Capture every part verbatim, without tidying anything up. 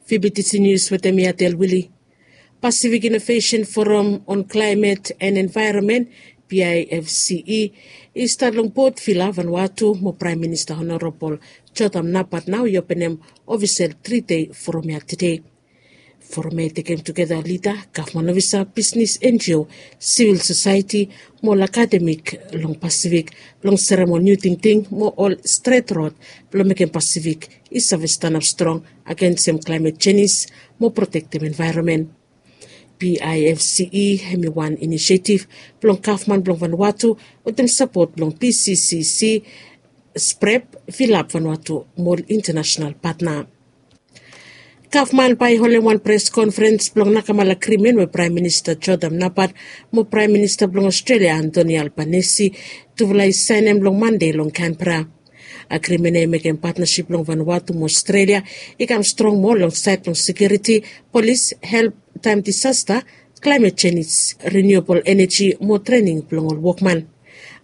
Fibitisi nius wetem mi atel wili. Pasifik Inovesen Forum on Klaimet and Envaeronmen, PIFCE, i stat long Port Vila, Vanuatu mo Praem Minista Honorabol Jotam Napat nao i openem ofisel tri dei forum ya tede. Forum ya i tekem tugeta lida, gavman ofisa, bisnis, NGO, sivil sosaeti mo ol akademik long Pasifik blong serem ol niu tingting mo ol stret rod blong mekem Pasifik i save stanap strong agensem klaemet jenis mo protektem envaeronmen. PIFCE hem i wan inisietif blong gavman blong Vanuatu wetem sapot blong PCCC, SPREP, Vilap Vanuatu mo ol intanasenal patna. Gavman bae i holem wan pres konferens blong nakamal agrimen we Praem Minista Jotam Napat mo Praem Minista blong Australia Anthony Albanese tufala i saenem long Mande long Canberra. Agrimen ya i mekem patnasip blong Vanuatu mo Australia i kam strong moa long saed blong sekiuriti, polis, help taem disasta, klaemet jenis, riniuabol eneji mo trening blong ol wokman.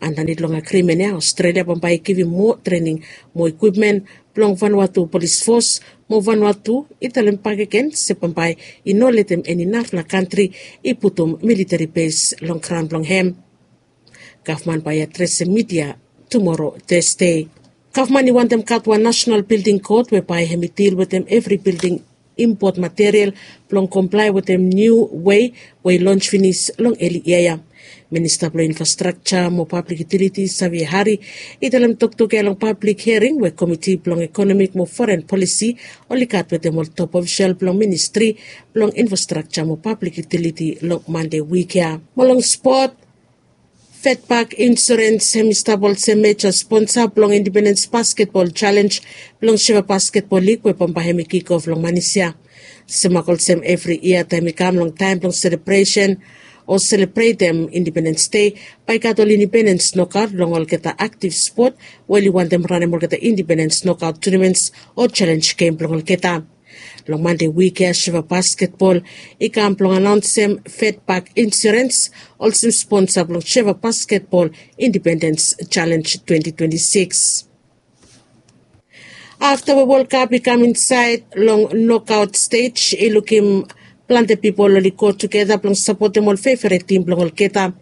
Andanit long agrimen ya Australia bambae i givim moa trening mo ikwipmen blong Vanuatu Polis Fos mo Vanuatu i talem bakegen se bambae i no letem eni narafala kantri i putum militeri bes long graon blong hem. Gavman bae i adresem midia tumoro Tesde. Gavman i wantem gat wan nasenal bilding kod we bae hem i dil wetem evri bilding impot material blong komplae wetem niu wei we i lons finis long eli yia ya. Minista blong Infrastrakja mo Pablik Itiliti Savio Hari i talem toktok ya long pablik hiaring we Komiti blong Ekonomik mo Foren Polisi oli gat wetem ol top ofisol blong Ministri blong Infrastrakja mo Pablik Itiliti long Mande wik ya. Mo long spot, Fedbak Insurens hem i stap olsem meja sponsa blong Indipendens Basketbol Jalenj blong Seva Basketbol Lig we bambae hem i kikof long manis ya. Semak olsem evri yia taem i kam long taem blong selebresen o selebretem Indipendens Dei, bae i gat ol Indipendens nokaot long olgeta aktif spot we oli wantem ranem olgeta Indipendens nokaot tunaments o jalenj gem blong olgeta. Long Mande wik ya Seva Basketbol i kam blong anaonsem Fedbak Insurens olsem sponsa blong Seva Basketbol Indipendens Jalenj twenti twenti sikis. Afta we Wol Kap i kam insaed long nokaot stej, i lukim plante pipol oli go tugeta blong sapotem ol feveret tim blong olgeta.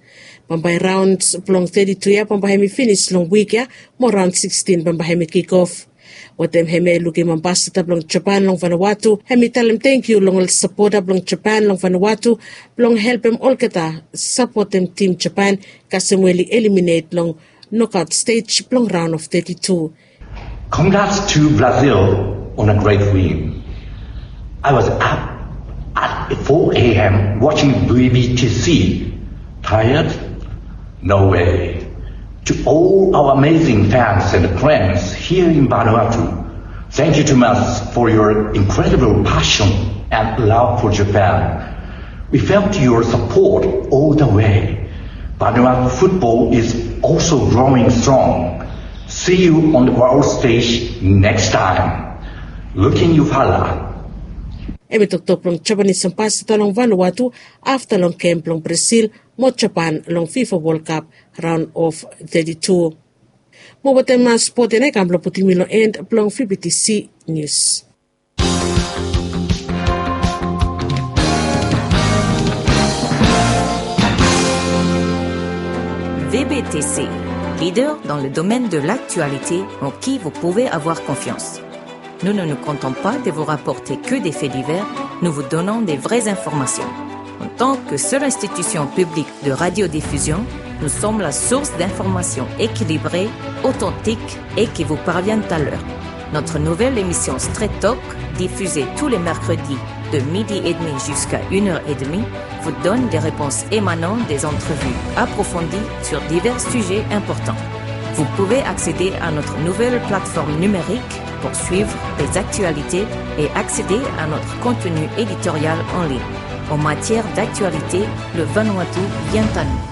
Bambae raon blong teti tu ya bambae hem i finis long wik ya mo raon sikisin bambae hem i kikof. Wetem hem ya i lukim ambasada blong Japan long Vanuatu hem i talem tangkiu long ol sapota blong Japan long Vanuatu blong helpem olgeta sapotem tim Japan kasem we oli eliminet long nokaot stej blong raon of teti tu. Congrats to Brazil on a great win. I was up at four a.m. watching B B T C. Tired? No way. To all our amazing fans and friends here in Vanuatu, thank you too much for your incredible passion and love for Japan. We felt your support all the way. Vanuatu football is also growing strong. See you on the world stage next time. Looking you fala. Hem i toktok blong Japanis ambasada long Vanuatu afta long gem blong Brazil mo Japan long FIFA World Cup raon of teti tu. Mo wetem spot ya nao i kam blong putum mi long en blong V B T C News. V B T C, leader dans le domaine de l'actualité en qui vous pouvez avoir confiance. Nous ne nous contentons pas de vous rapporter que des faits divers, nous vous donnons des vraies informations. En tant que seule institution publique de radiodiffusion, nous sommes la source d'informations équilibrées, authentiques et qui vous parviennent à l'heure. Notre nouvelle émission Straight Talk, diffusée tous les mercredis de midi et demi jusqu'à une heure et demie, vous donne des réponses émanant des entrevues approfondies sur divers sujets importants. Vous pouvez accéder à notre nouvelle plateforme numérique pour suivre les actualités et accéder à notre contenu éditorial en ligne. En matière d'actualité, le Vanuatu vient à nous.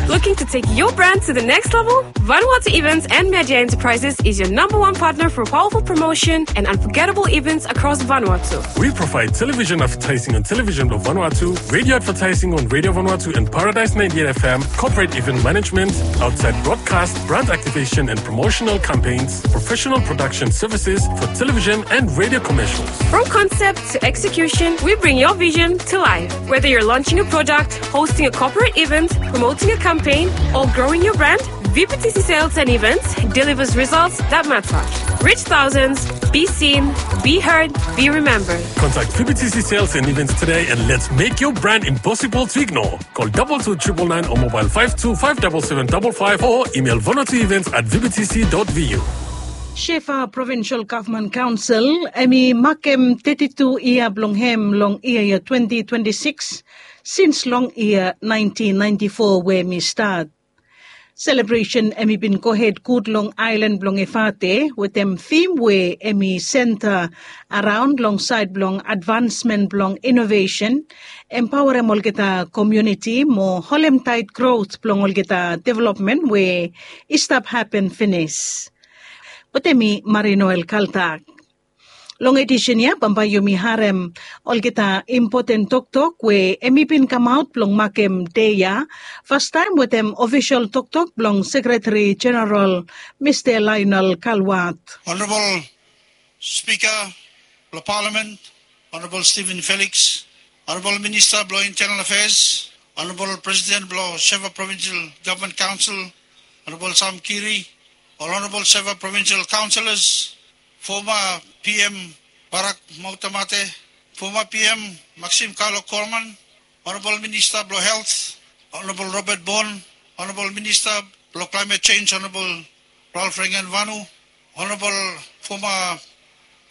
Look To take your brand to the next level? Vanuatu Events and Media Enterprises is your number one partner for powerful promotion and unforgettable events across Vanuatu. We provide television advertising on Television of Vanuatu, radio advertising on Radio Vanuatu and Paradise ninety-eight F M, corporate event management, outside broadcast, brand activation and promotional campaigns, professional production services for television and radio commercials. From concept to execution, we bring your vision to life. Whether you're launching a product, hosting a corporate event, promoting a campaign, or growing your brand, V P T C Sales and Events delivers results that matter. Reach thousands, be seen, be heard, be remembered. Contact V P T C Sales and Events today and let's make your brand impossible to ignore. Call double two triple nine or mobile five two five double seven double five or email vanuatuevents at V P T C dot V U. Shefa Provincial Government Council hemi makem teti tu yia blong hem long yia yia twenty twenty-six, sins long yia nineteen ninety-four we hemi stat. Selebresen hemi bin gohed gud long aelan blong Efate wetem thim we hemi senta araon long saed blong advansmen blong inovesen, empaorem olgeta komuniti mo holemtaet grot blong olgeta developmen we i stap hapen finis. Wetem mi Marinoel Kaltak. Long edisen ya bambae yumi harem olgeta impoten toktok we hemi bin kamaot blong makem dei ya, fastaem wetem ofisol toktok blong Sekretari Jeneral Mista Lionel Kalwat. Honorabol Spika blong Palamen, Honorabol Steven Felix, Honorabol Minista blong Intenal Afeas, Honorabol Presiden blong Shefa Provincial Gavman Kaonsel, Honorabol Sam Kiri, ol Honorabol Shefa Provincial Kaonselas, foma P M Barak Mautamate, foma P M Maxim Kalo Korman, Honorabol Minista blong Helt, Honorabol Robert Bon, Honorabol Minista blong Klaemet Jenj, Honorabol Ralph Rengenvanu, Honorabol foma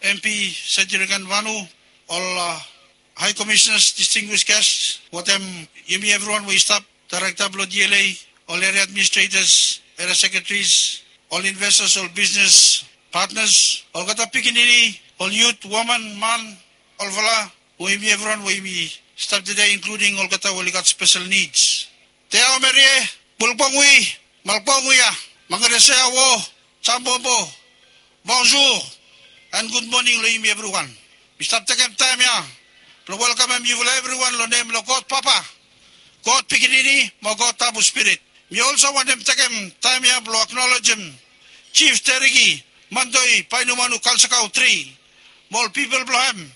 M P Seti Rengenvanu, ol Hae Komisionas, distinguis ges, wetem yumi evriwan we i stap, daerekta blong D L A, ol eria administretas, eria sekretaris, ol investas, ol bisnes patnas, olgeta pikinini, ol yut, woman, man, olfala, we yumi evriwan we yumi stap tede, inkluding olgeta we oli gat spesel nids. Te aomerie, bulbongui, malbonguia, mangaresea wo, jambombo, bonjour, and good morning long yumi evriwan. Mi stap tekem taem ya blong welkamem yufala evriwan long nem blong God Papa, God Pikinini mo God Tabu Spirit. Mi olso wantem tekem taem ya blong aknolejem Jif Teriki Mantoi Painumanu Kalsakau tri mo ol pipol blong hem,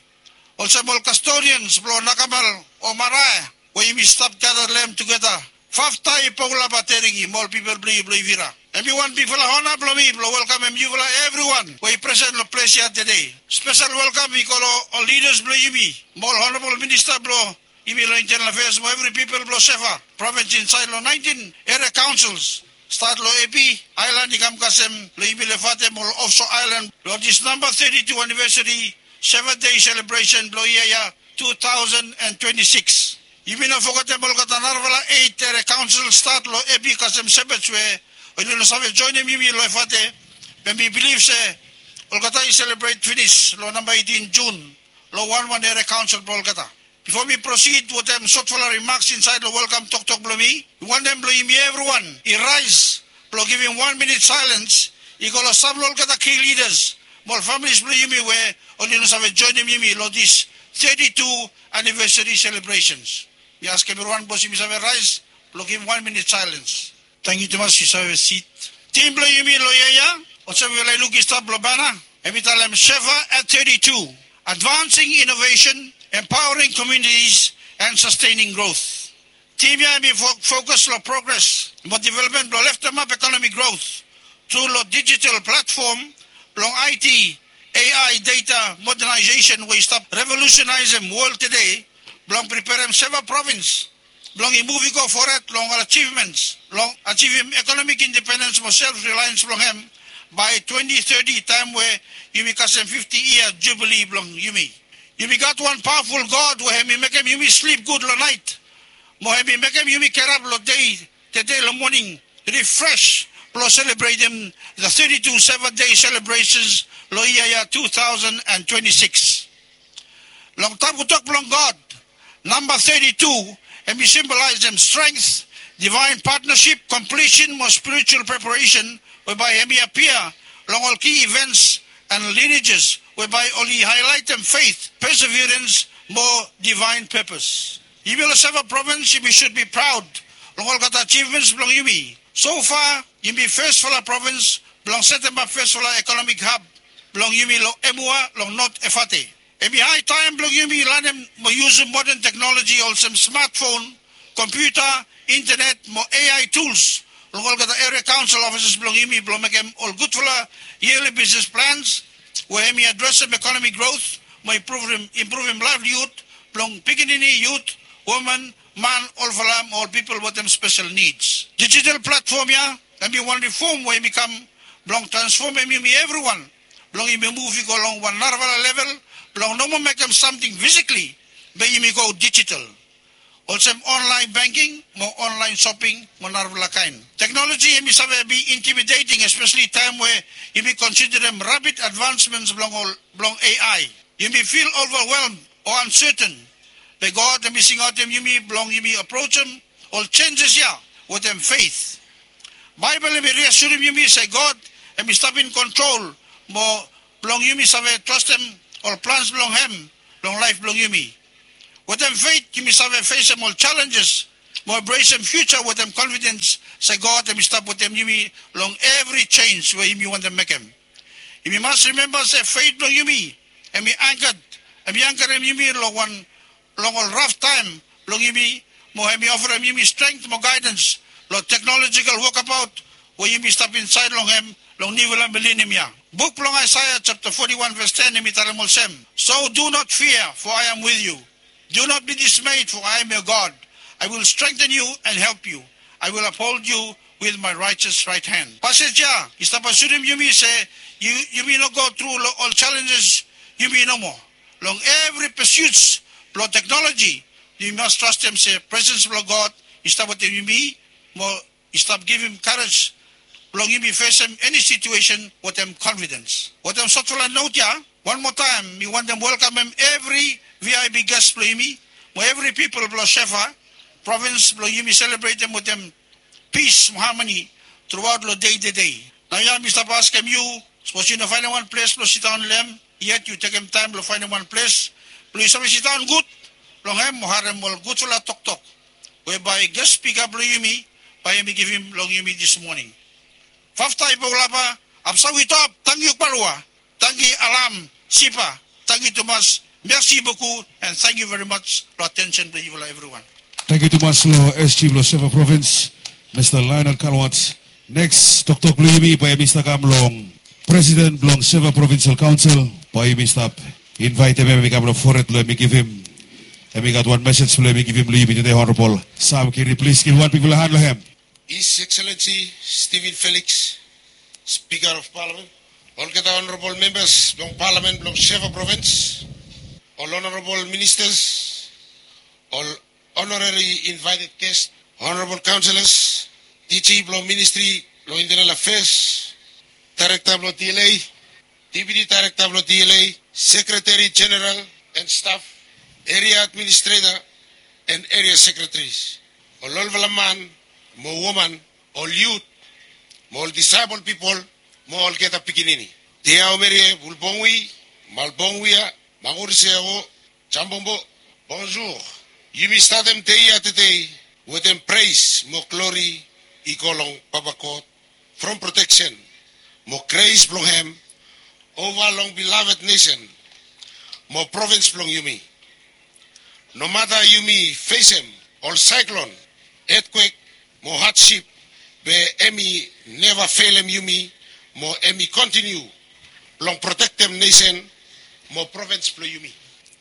olsem ol kastorians blong Nakamal o Marae we yumi stap gada long hem tugeta. Faftai Pogulaba Teriki mo ol pipol blong yu blong Ivira. Hemi wan bigfala ona blong mi blong welkamem yufala evriwan we i presen long ples ya tede. Spesel welkam i go long ol lidas blong yumi mo ol Honorabol Minista blong yumi long Intenal Afeas mo evri pipol blong Shefa Provins insaed long naentin eria kaonsels, stat long Epi aelan i kam kasem long yumi long Efate mo ol ofso aelan long dis namba teti tu anivesari Shefa Dei selebresen blong yia ya tu taosen an twenti sikis. Yumi no fogetem olgeta narafala eit eria kaonsel stat long Epi kasem Shepherds we oli no save joenem yumi long Efate, be mi bilif se olgeta i selebret finis long namba eitin Jun long wanwan eria kaonsel blong olgeta. Bifo mi prosid wetem sotfala rimaks insaed long welkam toktok blong mi, mi wantem blong yumi evriwan i raes blong givim wan minit saelens i go long sam long olgeta ki lidas mo ol familis blong yumi we oli no save joenem yumi long dis teti tu anivesari selebresens. Mi askem evriwan bos yumi save raes blong givim wan minit saelens. Tangkiu tumas, yu save sit. Tim blong yumi long yia ya, olsem yufala i luk i stap long bana, hemi talem Shefa at teti tu, advancing innovation, empowering communities and sustaining growth. Tim ya hemi fo-, fokus long progres mo developmen blong leftemap ekonomi grot tru long dijital platfom blong I T, A I, data modernization we i stap revolusenaesem wol tede blong preperem Shefa Provins blong i muv i go fored long ol ajivmens blong ajivim ekonomik independens mo self relians blong hem bae twenti teti, taem we yumi kasem fifti yia jubili blong yumi. Yumi gat wan pawaful God we hemi mekem yumi slip gud long naet mo hemi mekem yumi gerap long dei tede long moning rifres blong selebretem the teti tu Shefa Dei selebresens long yia ya tu taosen an twenti sikis. Long tabutok blong God, namba teti tu hemi simbolaesem strength, divaen patnasip, komplisen mo spiritual preparesen we bae hemi apia long ol ki ivents and lineages we bae oli haelaetem feit, perseverens mo divaen pepes. Yumi long Seva provins yumi sud bi praod long olgeta ajivmens blong yumi. Sofa yumi fesfala provins blong setemap fesfala ekonomik hab blong yumi long Emua long Not Efate. Hemi hae taem blong yumi lanem mo yusum moden teknoloji olsem smatfon, kompiuta, intenet mo A I tuls long olgeta eria kaonsel ofises blong yumi blong mekem ol gudfala yearly business plans we hemi adresem ekonomik grot mo impruvem impruvem laevlihud blong pikinini, yut, woman, man, olfala mo ol pipol wetem spesel nids. Dijital platfom ya hemi wan rifom we hemi kam blong transfomem yumi evriwan blong yumi muv i go long wan narafala level blong no moa mekem samting fisikli be yumi go dijital, olsem onlaen banking mo onlaen soping mo narafala kaen. Teknoloji hemi save bi intimideting, espeseli taem we yumi konsiderem rapid advansmens blong ol blong A I. Yumi fil ovawelm o anseten, be God hemi singaotem yumi blong yumi aprojem ol jenjes ya wetem feit. Baebol hemi riasurim yumi se God hemi stap in kontrol mo blong yumi save trastem ol plans blong hem long laef blong yumi. Wetem feit yumi save fesem ol jalenjes mo embrasem fiuja wetem konfidens se God hemi stap wetem yumi long evri jenj we yumi wantem mekem. Yumi mas rimemba se feit blong yumi hemi angkat hemi angkarem yumi long wan long ol raf taem blong yumi mo hemi ofarem yumi strength mo gaedans long teknolojikal wokabaot we yumi stap insaed long hem long niufala milenium ya. Buk blong Aesaea japta foti wan ves ten hemi talem olsem, "So do not fear, for I am with you. Do not be dismayed, for I am your God. I will strengthen you and help you. I will uphold you with my righteous right hand." Pasej ya i stap asurim yumi se yumi no go tru long ol jalenjes yumi nomo. Long evri pursuits blong teknoloji yumi mas trastem se presens blong God i stap wetem yumi mo i stap givim karej blong yumi fesem eni situesen wetem konfidens. Wetem sotfala not ya, wan moa taem mi wantem welkamem evri V I P ges blong yumi mo evri pipol blong Seva provins blong yumi selebretem wetem pis mo hamani truaot long dei tede. Naoia mi stap askem yu, sapos yu no faenem wan ples blong sidaon long hem yet, yu tekem taem blong faenem wan ples blong yu save sidaon gud long hem mo harem ol gudfala toktok we bae ges spika blong yumi bae hemi givim long yumi dis moning. Fafta i Paulapa, Apsawi Top, tangkiu Kpalua, tangkiu Alam, Sipa, tangkiu tumas, mersi buku, and thank you very much long atensen blong yufala evriwan. Tangkiu tumas long S G blong Seva Provins, Mista Lionel Kalwat. Neks toktok blong yumi bae yumi stap kam long Presiden blong Seva Provinsel Kaonsel, bae yumi stap invaetem hem i kam long fored blong hem i givim, hem i gat wan mesej blong hem i givim long yumi tede. Honorabol Sam Kiri, plis givim wan bigfala han long hem. His Excellency Stephen Felix, Speaker of Parliament, olgeta honorabol membas blong Parliament blong Seva Provins, ol honorabol ministas, ol honorary invited guest, honorabol councillors, D G blong Ministry blong Internal Affairs, Director blong D L A, Deputy Director blong D L A, Secretary General and staff, Area Administrator and Area Secretaries, ol olfala man mo woman, ol yut mo ol disaebol pipol mo olgeta pikinini. Tiaomerie, Bulbongwi, Malbongwia, Manguriseo, Jambombo, bonjour. Yumi statem dei ya tede wetem pres mo glori i go long Papa God from proteksen mo gres blong hem ova long beloved nesen mo provins blong yumi. Nomata yumi fesem ol saeklon, etkwek mo hadsip, be hem i neva felem yumi mo hem i kontiniu blong protektem nesen mo provins blong yumi.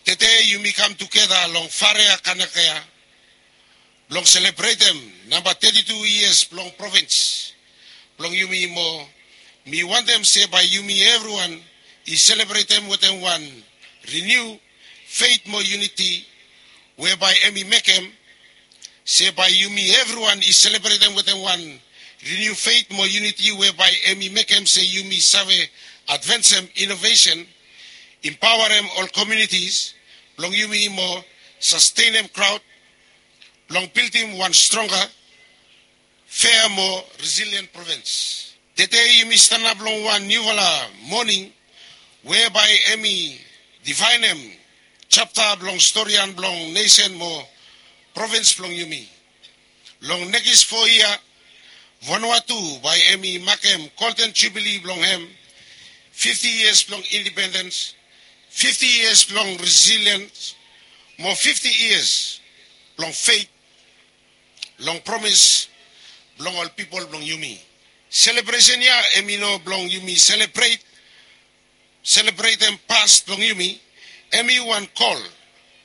Tede yumi kam tugeta long Farea Kanakea blong selebretem namba teti tu yias blong provins blong yumi mo mi wantem se bae yumi evriwan i selebretem wetem wan riniu feit mo yuniti we bae hem i mekem se bae yumi evriwan i selebretem wetem wan riniu feit mo yuniti we bae hem i mekem se yumi save advansem inovesen, impaoarem ol komiunitis blong yumi mo sastenem graot blong bildim wan stronga Fea mo resilient provins. Tede yumi stanap long wan niufala moning we bae hemi divaenem japta blong storian blong nesen mo provins blong yumi. Long nekis fo yia, Vanuatu bae hemi makem golden jubili blong hem, fifti yias blong indipendens, fifti yias blong resiliens, mo fifti yias blong feit long promis blong ol pipol blong yumi. Selebresen ya hemi no blong yumi selebret selebretem pas blong yumi, hemi wan kol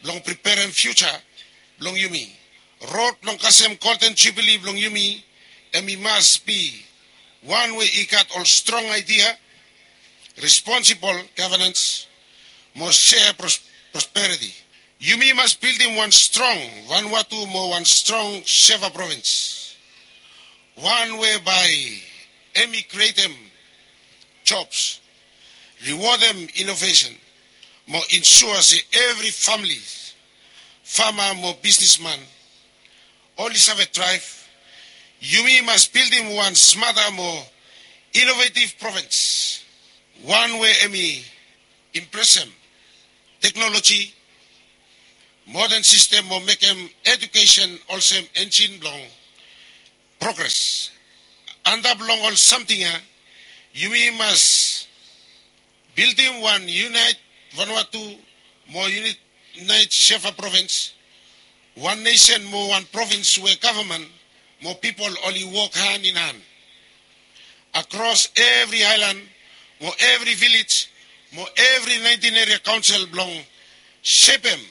blong preperem fiuja blong yumi. Rod blong kasem golden jubili blong yumi hemi mas bi wan we i gat ol strong aedia, responsibol gavenans, mo sea prosperiti. Yumi mas bildim wan strong Vanuatu mo wan strong seva provins, wan we bae hemi krietem jobs, riwodem inovesen, mo insua se evri famili, fama mo bisnisman oli save draev. Yumi mas bildim wan smata mo inovetiv provins, wan we hemi impresem teknoloji, moden sistem mo mekem ejukesen olsem enjin blong progres. Antap long ol samting ya, yumi mas bildim wan yunaet Vanuatu mo yunaet seva provins, wan nesen mo wan provins we gavman mo pipol oli wok han in han akros evri aelan mo evri vilej mo evri naentin eria kaonsel blong sepem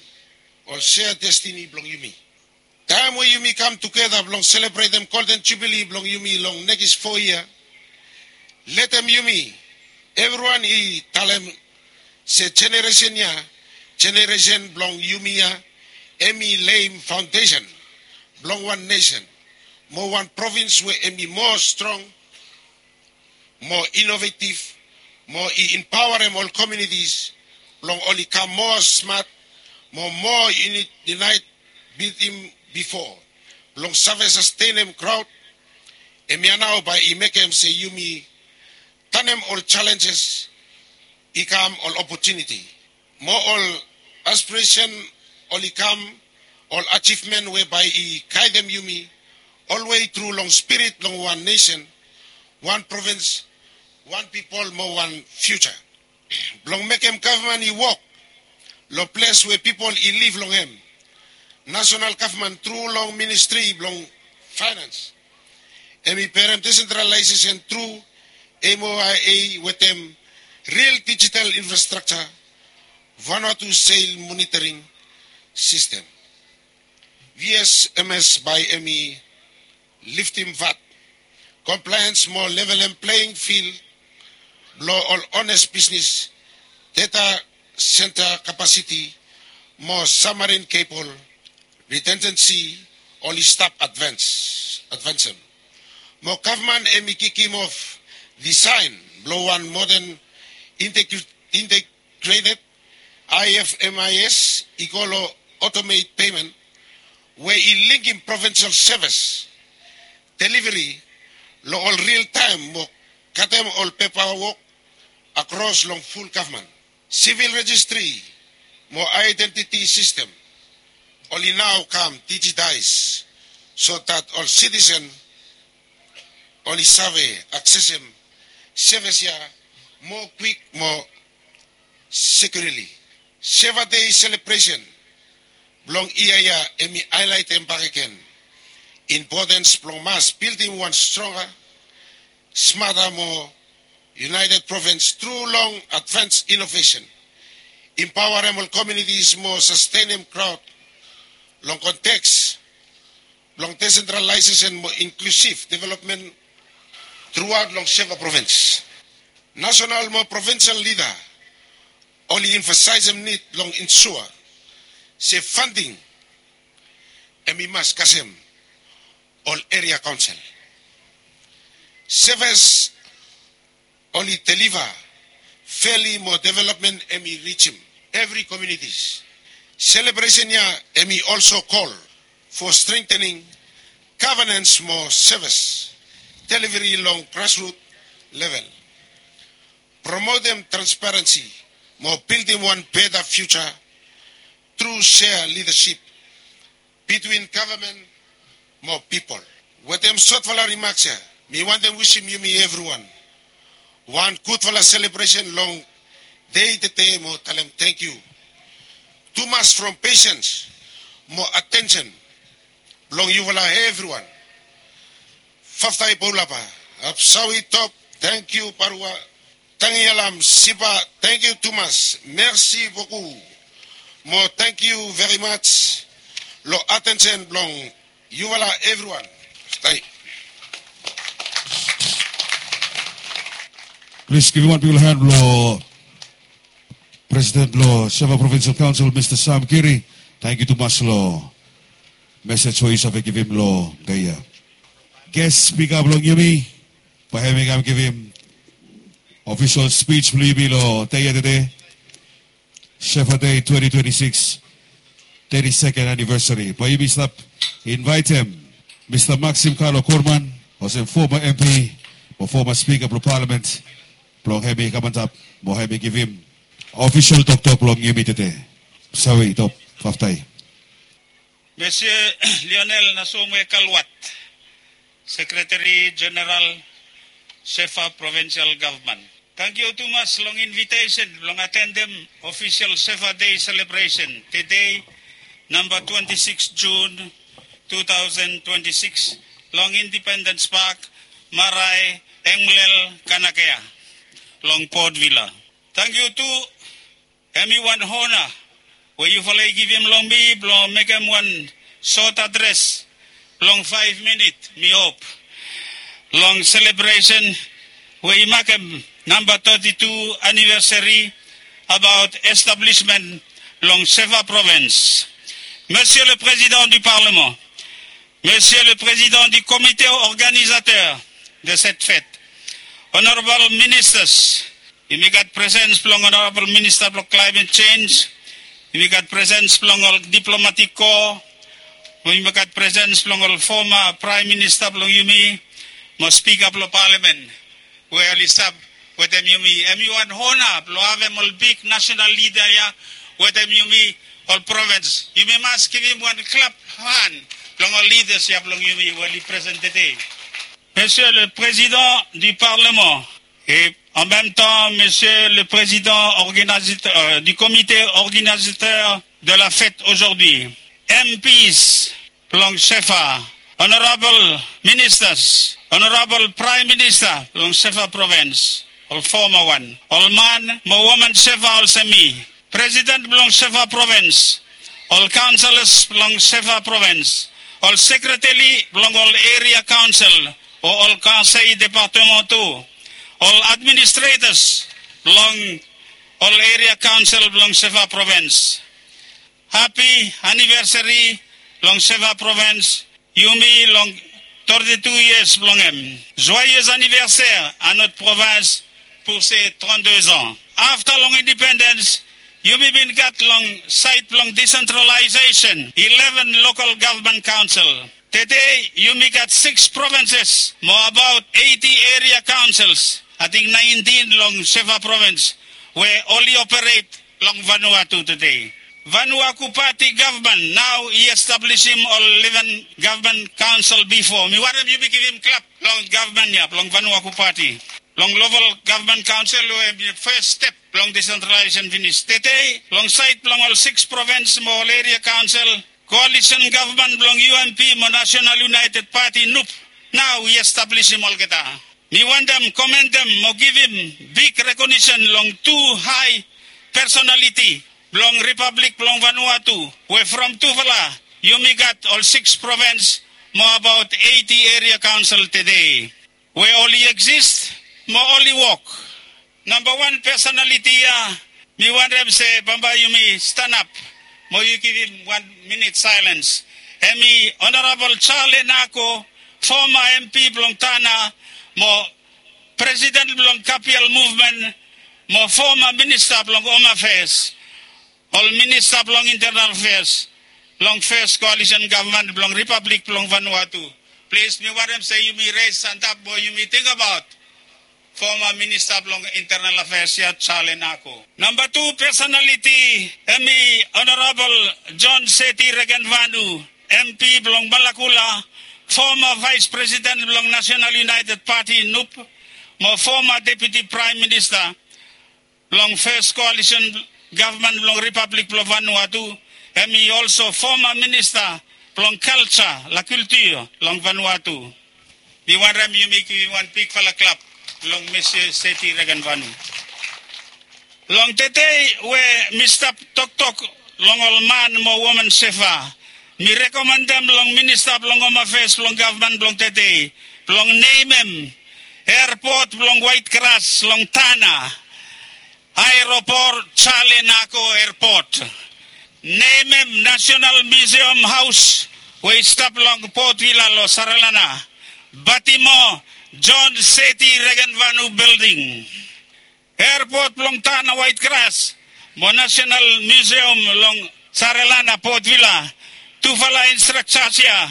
ol sea destini blong yumi. Taem we yumi kam tugeta blong selebretem golden jubili blong yumi long nekis fo yia, letem yumi evriwan i talem se jeneresen ya, jeneresen blong yumi ya, hemi leim faondesen blong wan nesen mo wan provins we hemi moa strong, moa inovetiv, mo i empaoarem ol komiunitis blong oli kam moa smat mo moa yunaet bitim bifo. Blong save sastenem graot, hemia nao bae i mekem se yumi tanem ol jalenjes i kam ol opotuniti, mo ol aspiresen oli kam ol ajivmen we bae i gaedem yumi olwe tru long spirit blong wan nesen, wan provins, wan pipol mo wan fiuja. Blong mekem gavman i wok long ples we pipol i liv long hem, nasonal gavman tru long ministri blong faenans hemi perem desentralaesesen tru, moia wetem ril dijital infrastrakja, Vanuatu seil monitoring sistem, V S M S, bae hemi liftim vat, komplaens mo levelem pleing fil blong ol ones bisnis, deta senta kapasiti mo sabmarin kebol ritensensi oli stap advansem. Mo gavman hemi kikimof disaen blong wan moden integreted I F M I S i go long otomet pemen we i lingim provinsel sevis deliveri long ol ril taem mo katem ol pepa wok akros long ful gavman. Sivil rejistri mo aedentiti sistem oli nao kam dijitaes so dat ol sitisen oli save aksesem sevis ya moa kwik mo sekiurili. Seva Dei selebresen blong yia ya hemi haelaetem bakegen impotens blong mas bildim wan stronga, smata mo yunaeted provins tru long advans inovesen, empaoarem ol komiunitis mo sastenem graot long konteks blong desentralaesesen mo inklusiv developmen truaot long seva provins. Nasonal mo provinsel lida oli emfasaesem nid blong ensua se fanding hemi mas kasem ol eria kaonsel. Sevis oli deliva feli mo developmen hemi rijim evri komiunitis. Selebresen ya hemi olso kol fo strengtening Gavenens mo sevis deliveri long grasrut level. Promotem transparensi mo bildim wan beta fiuja tru sea lidasip bitwin gavman mo pipol. Wetem sotfala rimaks ya, mi wantem wisim yumi evriwan wan gudfala selebresen long dei tede mo talem tangkiu tumas from pesens mo atensen blong yufala evriwan. Faftai bolapa, apsawi top, tangkiu barua, tangialam siba, tangkiu tumas, mersi boku mo tangkiu verimaj long atensen blong yufala evriwan. Stai. Plis givim wan bigfala han long Presiden blong Shefa Provincial Council, Mista Sam Giri. Tangkiu tumas long mesej we yu save givim long dei ya. Ges spika blong yumi bae hem i kam givim ofisol spij blong yumi long dei ya tede, Shefa Dei twenti twenti sikis, teti seken anivesari. Bae yumi stap invaetem Mista Maxim Carlo Corman, olsem foma MP mo foma Spika blong Palamen, blong hem i kam antap mo hem i givim ofisol toktok blong yumi tede. Sawe i top, faftai. Monsieur Lionel Nasomwe Kalwat, Sekretari Jeneral Shefa Provincial Gavman. Tangkiu tumas long invitesen blong atendem ofisol Shefa Dei selebresen tede, namba twenti sikis Jun tu taosen twenti sikis, long Indipendens Pak, Marae, Engmlel, Kanakea, long Port Vila. Tangkiu tu, hem i wan ona we yufala i givim long mi blong mekem wan sot adres blong faef minit, mi hop, long selebresen we i makem namba teti tu anivesari abaot establismen blong Shefa Provins. Monsieur le Président du Parlement, Monsieur le Président du Comité organisateur de cette fête, Honorable Ministers, yumi gat presens blong Honorable Minister blong Climate Change, yumi gat presens blong ol Diplomatic Corps, yumi gat presens blong ol foma Praem Minista blong yumi, mo Spika blong Palamen we oli stap wetem yumi. Hem i wan ona blong havem ol big nasenal lida ya wetem yumi, ol provins. Yumi mas givim wan klap han blong ol lidas ya blong yumi we oli presen tede. Monsieur le Président du Parlement et en même temps Monsieur le Président organisateur, euh, du comité organisateur de la fête aujourd'hui, M Ps blong Shefa, Honorable Ministers, Honorable Prime Minister blong Shefa Provins, ol foma wan, ol man mo woman Shefa olsem mi, Presiden blong Shefa Provins, ol kaonselas blong Shefa Provins, ol sekretari blong ol eria kaonsel o ol konsei departemental, ol administretas blong ol eria kaonsel blong Shefa Provins. Hapi anivesari long Shefa Provins, yumi long teti tu yias blong hem. Joyeux anniversaire à notre province pour ses trente-deux ans. Afta long indipendens, yumi bin gat long saed blong disentralaesesen ileven lokal gavman kaonsel. Tede yumi gat sikis provinses mo abaot eiti eria kaonsels, ating naentin long Shefa Provins, we oli operet long Vanuatu tede. Vanuatu Pati gavman nao i establisim ol ileven gavman kaonsel bifo. Mi wantem yumi givim klap long gavman ya blong Vanuatu Pati. Long lokal gavman kaonsel we hem i fes step blong disentralaesesen finis. Tede long saed blong ol sikis provins mo ol eria kaonsel, koalisen gavman blong U M P mo Nasenal United Pati, NUP, nao i establisim olgeta. Mi wantem komentem mo givim big rekonisen long tu hae pesonaliti blong Ripablik blong Vanuatu, we from tufala yumi gat ol sikis provins mo abaot eiti eria kaonsel tede, we oli eksis mo oli wok. Nambawan pesonaliti ya mi wantem se bambae yumi stanap mo yu givim wan minit saelens. Hem i Honorabol Charlie Nako, foma M P blong Tanna mo presiden blong Kapial Muvmen mo foma minista blong Hom Afeas, ol minista blong Intenal Afeas long fes koalisen gavman blong Ripablik blong Vanuatu. Plis, mi wantem se yumi res antap mo yumi tingbaot foma minista blong internal afeas ya, Charlie Nako. Namba tu pesonaliti em i Honorabol John Seti Regenvanu, M P blong Malakula, foma vaes presiden blong Nasenal Iunaeted Pati, NUP, mo foma deputi praem minista blong fes koalisen gavman blong Ripablik blong Vanuatu. Em i olso foma minista blong kalja, la kultur long Vanuatu. Mi wantem yumi givim wan bigfala klap long Mista Seti Regenvanu. Long tede we mi stap toktok long ol man mo woman sefa, mi rekomendem long minista blong Hom Afeas blong gavman blong tede blong nemem erpot blong Waetgras long Tanna, aeropot Charlie Nako Erpot. Nemem Nasenal Miusiam Haos we i stap long Port Vila long Saralana, Batimo John Seti Regenvanu Bilding. Erpot blong Tanna Waetgras mo Nasenal Miusiam long Saralana, Port Vila, tufala instraktas ya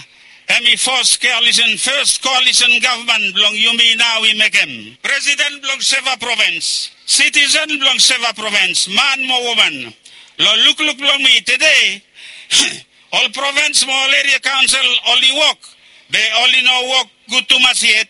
em i fes koalisen, fes koalisen gavman blong yumi nao i mekem. Presiden blong Seva Provens, sitisen blong Seva Provens, man mo woman, long lukluk blong mi tede, ol provens mo ol eria kaonsel oli wok, be oli no wok gud tumas yet.